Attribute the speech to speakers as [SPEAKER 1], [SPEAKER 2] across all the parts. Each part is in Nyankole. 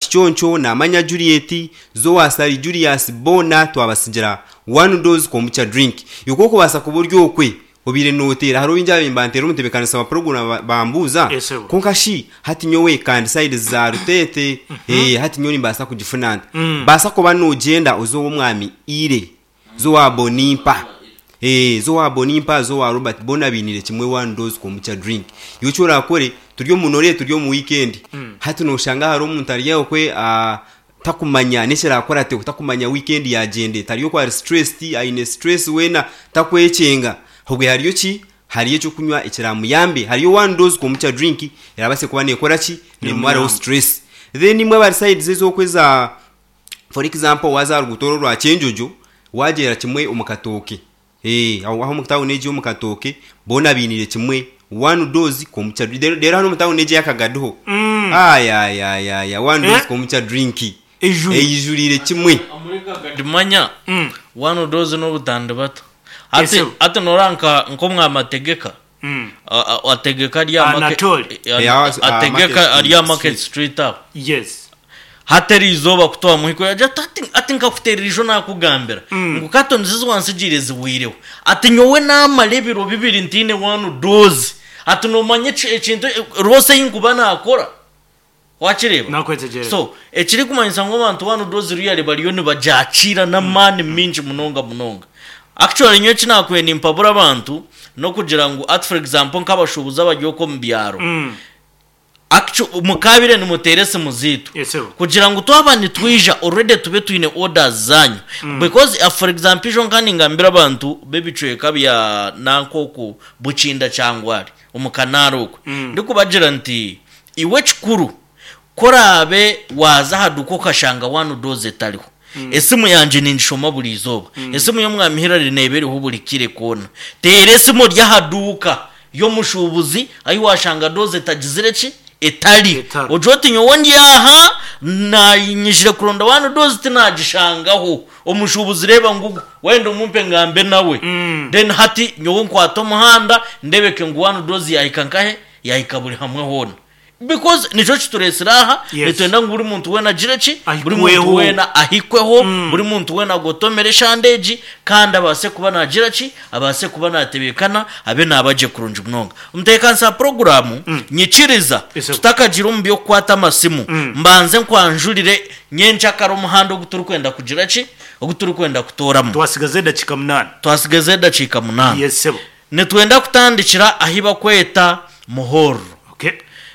[SPEAKER 1] Kiconco, Namanya Juliet, Zoa Ssali Julius boona twabatsigira One Dose Kombucha Drink. Iwe ku orikubaasa kuba ori okwe obaire nooteera hariho baingi ababaire nibanteera omutebeekanisa wa puroguraamu bambuuza,
[SPEAKER 2] Yes, sebo.
[SPEAKER 1] kwonka shi hati nyowe kandi sayidi za Ruteete, ee hati nyowe nimbaasa kugifuna nta? Baasa kuba noogyenda oze ow'omwami Ire. Zoa Bonimpa Eeh Zoa Bonimpa Zoa Robert boona bainiire kimwe one dose kombucha drink. Iwe eki orakore turi omu nore turi omu weekend hati noshanga hariho omuntu ari okwe takumanya n'ekiraakurateho takumanya weekend yagyenda eta ari okwe ari stressed aine stress weena takwekyenga obwe hariyo ki? Hariyo eky'okunywa ekiramuyambe hariyo one dose kombucha drink erabaase kuba nekora ki? Nemumaraho stress. Then imwe abari sides ez'okwe eza For example waaza aha ruguuto oru orwa Kyenjojo waagyera kimwe omu katooke eeh aho aho omu tawuni egyo omu katooke boona bainiire kimwe one dose kombucha drink reero reero hanu omu tawuni egyo eya Kagadi ho ayayayaya one dose
[SPEAKER 2] Eh?
[SPEAKER 1] kombucha drink
[SPEAKER 2] Eijwire.
[SPEAKER 1] eijuriire kimwe.
[SPEAKER 3] Omuri Kagadi manya one dose n'obutandibata. Hati
[SPEAKER 2] Esebo.
[SPEAKER 3] hati noreeba nka nk'omwamategeka Ategeka ari aha Market-
[SPEAKER 2] Anatole.
[SPEAKER 3] Eh, ategeka ari aha Market Street aho.
[SPEAKER 2] Yes.
[SPEAKER 3] Hati eri izooba ku twamuhika yagira ati ati ati nkakuteerera ijo naakugambira ngu katoni ezi wantsigiire zihweireho. Ati nyowe naamara ebiro bibiri ntaine one dose. Ati noomanya eki ekintu rwose ei nkuba naakora? Wakireeba?
[SPEAKER 2] Nakwetegyereza.
[SPEAKER 3] So, ekirikumanyisa ngu abantu one dose really bariyo nibagyakiira n'amaani maingi munonga munonga. Actually nyowe eki naakubaire nimpabura abantu n'okugira ngu hati for example nk'abashuubuzi abari okwo omu byaro, actu mukaabaire nimuteera esimu zaitu
[SPEAKER 2] Yes, sir.
[SPEAKER 3] kugira ngu twaba nitwija already tube twine orders zaanyu because for example ijo nka ningambira abantu b'ebicweka bya nanka oku Bukinda Kyangwari omu Kanaaro okwe ndikubagira nti Iwe ekikuru, ku oraabe waaza aha duuka okashanga one dose etariho, esimu yangye ningishoma buri izooba. Esimu y'Omwami Hillary neeba eriho buri kaire koona. Teera esimu ori aha duuka y'omushuubuzi ahu waashanga dose etagizire ki? Etari.
[SPEAKER 2] Etari.
[SPEAKER 3] Ogire oti nyowe ndi aha, naanyijire kuronda one dose tinaagishangaho. Omushuubuzi reeba ngugu, wayenda omumpe ngambe nawe. Then hati nyowe nkwate omuhanda ndebeke ngu one dose yaahika nkahe? Yaahika buri hamwe hoona. Because nikyo kitureetsire aha,
[SPEAKER 2] Yes.
[SPEAKER 3] nitwenda ngu buri muntu weena agire ki? Buri muntu
[SPEAKER 2] Ahikweho.
[SPEAKER 3] weena ahikweho, buri muntu weena agotomere eshande egi, kandi abaase kuba naagira ki? Abaase kuba naatebeekana, abe naaba gye kurungi munonga. Omutebeekanisa wa puroguraamu, nyikiriza
[SPEAKER 2] Yes, sir.
[SPEAKER 3] tutakagiire omu by'okukwata amasimu, mbanze nkwanjurire nyenkyakare omuhanda ogu turikwenda kugira ki? Ogu turikwenda kutooramu.
[SPEAKER 2] Twasigaza edakiika munaana.
[SPEAKER 3] Twasigaza edakiika munaana.
[SPEAKER 2] Yes, sebo.
[SPEAKER 3] Nitwenda kutandikira ahi bakweta Muhorro.
[SPEAKER 2] Okay.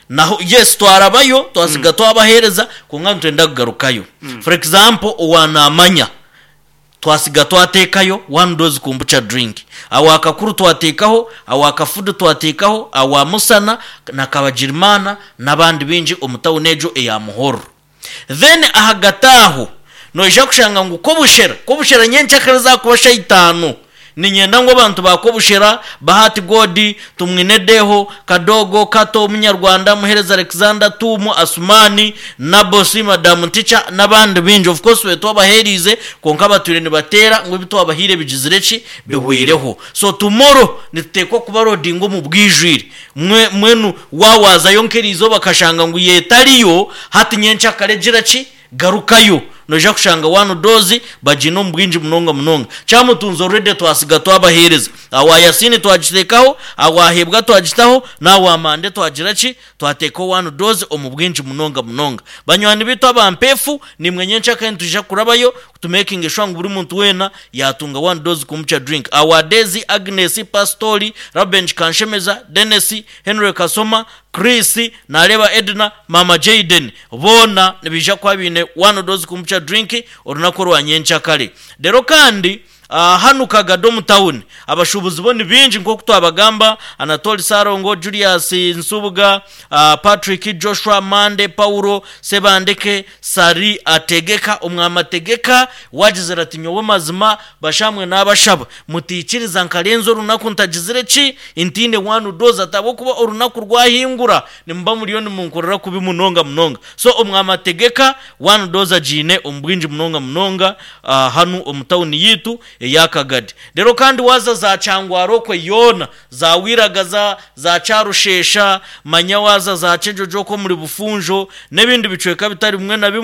[SPEAKER 3] Naho yes twarabayo twasiga twabahereza kwonka nitwenda kugarukayo. For example owa Namanya twasiga twatekayo one dose kombucha drink, awa Kakuru twatekaho, awa Kafudu twatekaho, awa Musana na Kabagirimana n'abandi baingi omu tawuni egyo eya Muhorro. Then ahagati aho noija kushanga ngu Kobushera, Kobushera nyenkyakare zaakuba shaaha itaano, niinyenda ngu abantu ba Kobushera, Bahati God, Tumwine Deho, Kadogo, Kato, Munyarwanda, Muhereza Alexander, Tuumu, Asumani, Nabosi, Madamu Nticha n'abandi baingi of course tube twabaheeriize kwonka batwire nibateera ngu ebi twabahaire bigizire ki? Bihweireho. So tomorrow nituteekwa kubarodinga omu bwijwire. Mwe, mbwenu wa waazayo nk'eriizooba okashanga ngu yo etariyo, hati nyenkyakare gira ki? Garukayo. Noija kushanga one dose bagiine omu bwingi munonga munonga. Kyamutunzi already twasiga twabaheereza. Awa Yasiini twagiteekaho, awa Hebwa twagitaho, n'awa Mande twagira ki? Twateekaho one dose omu bwingi munonga munonga. Banywani baitu aba Mpeefu, naimwe nyenkyakare nitwija kurabayo tumekinge sure ngu buri muntu weena yaatunga one dose kombucha drink. Awa Daisy, Agnes, Pastori, Reuben Kanshemeza, Denis, Henry Kasoma, Chris, Nareeba Edna, Maama Jayden boona nibaija kuba baine one dose kombucha drink orunaku orwa nyenkyakare. Reero kandi Hanu Kagadi omu tawuni abashuubuzi bo ni baingi nk'oku twabagamba, Anatoli Ssalongo, Julius Nsubuga, Patrick Joshua, Mande Paulo, Sebandeke, Sari Ategeka, Omwami Ategeka waagizire ati nyowe mazima bashamwe naabashaba mutaikiriza nkarenza orunaku ntagizire ki ntaine one dose ati ahabw'okuba orunaku rwahingura nimuba muriyo nimunkorera kubi munonga munonga so Omwami Ategeka one dose agiine omu bwingi munonga munonga. Hanu omu tauni yaitu eya Kagadi. Reero kandi waaza za Kyangwara okwe yoona, za Wiragaza, za Kyarushesha, manya waaza za Kyejojo okwo omuri Bufunjo, n'ebindi bicweka bitari bimwe na bimwe.